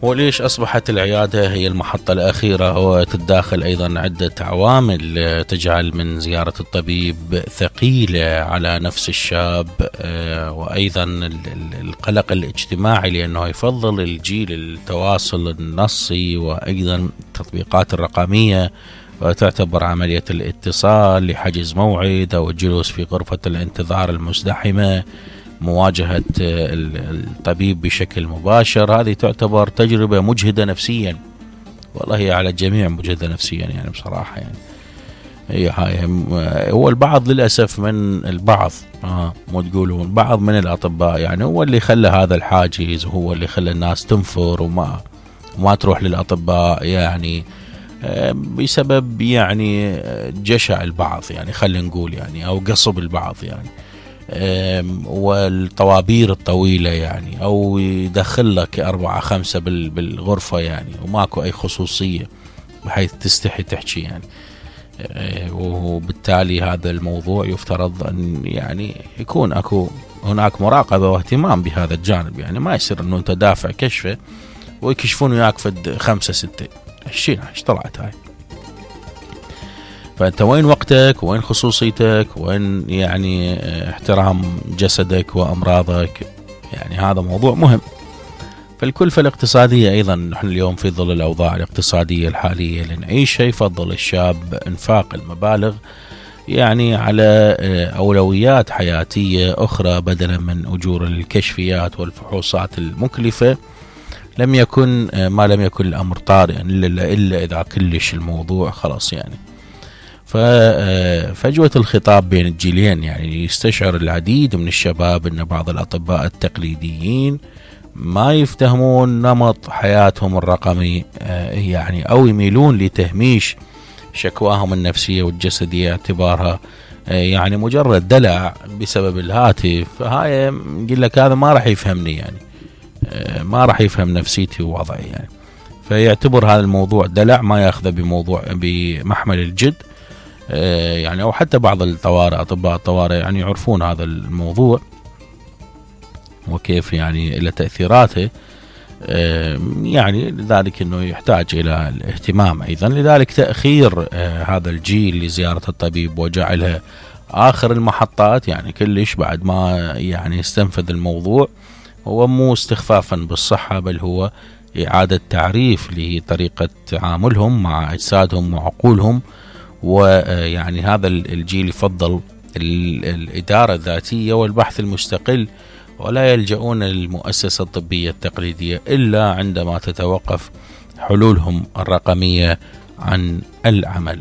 وليش أصبحت العيادة هي المحطة الأخيرة؟ وتتداخل أيضا عدة عوامل تجعل من زيارة الطبيب ثقيلة على نفس الشاب، وأيضا القلق الاجتماعي لأنه يفضل الجيل التواصل النصي، وأيضا التطبيقات الرقمية وتعتبر عملية الاتصال لحجز موعد أو الجلوس في غرفة الانتظار المزدحمة، مواجهة الطبيب بشكل مباشر. هذه تعتبر تجربة مجهدة نفسيا، والله هي على الجميع مجهدة نفسيا يعني بصراحة. يعني هي هو البعض للأسف من البعض مو تقولون بعض من الأطباء يعني هو اللي خلى هذا الحاجز، وهو اللي خلى الناس تنفر وما تروح للأطباء، يعني بسبب يعني جشع البعض، يعني خلينا نقول يعني، أو قصب البعض يعني، والطوابير الطويلة يعني، أو يدخل لك 4-5 بالغرفة يعني، وماكو أي خصوصية بحيث تستحي تحكي يعني. وبالتالي هذا الموضوع يفترض أن يعني يكون هناك مراقبة واهتمام بهذا الجانب، يعني ما يصير أنه أنت دافع كشفة ويكشفون وياك فد 5-6 ايش طلعت هاي. فأنت وين وقتك، وين خصوصيتك، وين يعني احترام جسدك وأمراضك، يعني هذا موضوع مهم. فالكلفة الاقتصادية أيضا، نحن اليوم في ظل الأوضاع الاقتصادية الحالية اللي نعيشها يفضل الشاب إنفاق المبالغ يعني على أولويات حياتية أخرى بدلا من أجور الكشفيات والفحوصات المكلفة. ما لم يكن الأمر طارئا إلا إذا كلش الموضوع خلاص يعني. ففجوة الخطاب بين الجيلين يعني يستشعر العديد من الشباب أن بعض الأطباء التقليديين ما يفتهمون نمط حياتهم الرقمي يعني، أو يميلون لتهميش شكواهم النفسية والجسدية اعتبارها يعني مجرد دلع بسبب الهاتف. فهاي نقول لك هذا ما راح يفهمني يعني، ما راح يفهم نفسيتي ووضعي يعني، فيعتبر هذا الموضوع دلع، ما ياخذه بمحمل الجد يعني. أو حتى بعض الطوارئ، أطباء الطوارئ يعني يعرفون هذا الموضوع وكيف يعني إلى تأثيراته يعني، لذلك أنه يحتاج إلى الاهتمام أيضا. لذلك تأخير هذا الجيل لزيارة الطبيب وجعلها آخر المحطات يعني كلش بعد ما يعني استنفذ الموضوع، هو مو استخفافا بالصحة، بل هو إعادة تعريف لطريقة تعاملهم مع أجسادهم وعقولهم. ويعني هذا الجيل يفضل الإدارة الذاتية والبحث المستقل، ولا يلجؤون للمؤسسة الطبية التقليدية إلا عندما تتوقف حلولهم الرقمية عن العمل.